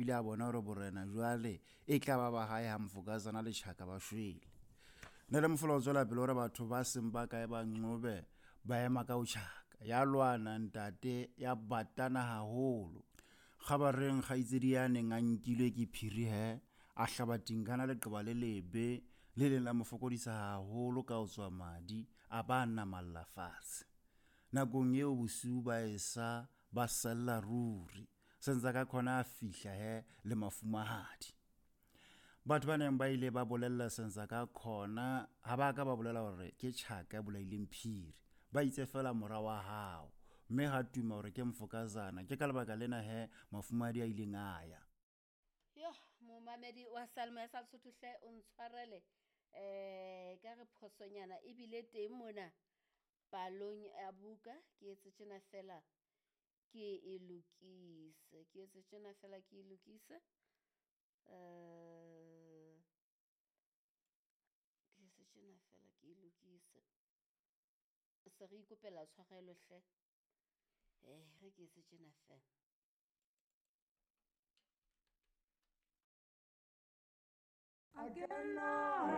bile a bona hore borena jwale e tla ba ba hae ha Mfokazana le Tjhaka ba shwele. Nele Mofola o tswela pele hore batho ba seng ba kae ba Nqobe ba ema ka ho Tjhaka. Ya lwana ntate, ya batana haholo. Kgabareng kgaitsedi ya neng a nkilwe ke phiri he, a hlaba Tinkana leqeba le lebe le leng la mo fokodisa haholo ka ho tswa madi, a ba a namalla fatshe. Nakong eo bosiu ba esa ba sella ruri. Senzakakhona a fihla he le mafumahadi. Batho ba neng ba ile ba bolella Senzakakhona ha ba ka ba bolela hore ke Tjhaka ya bolaileng Phiri. Ba itse feela mora wa hao. Mme ha tuma hore ke Mfokazana. Ke ka lebaka lena he mafumahadi a ileng a ya. Yo, momamedi wa Salmo ya sa Lesotho hle o ntshwarele eh ka re phosonyana ebile teng mona palong ya buka ke etse tjena fela ke e lokise, ke etse tjena fela ke e lokise. Eh ke etse tjena fela ke e lokise. Se re ikopela tshwarelo hle. Eh re ke etse tjena fela. Again.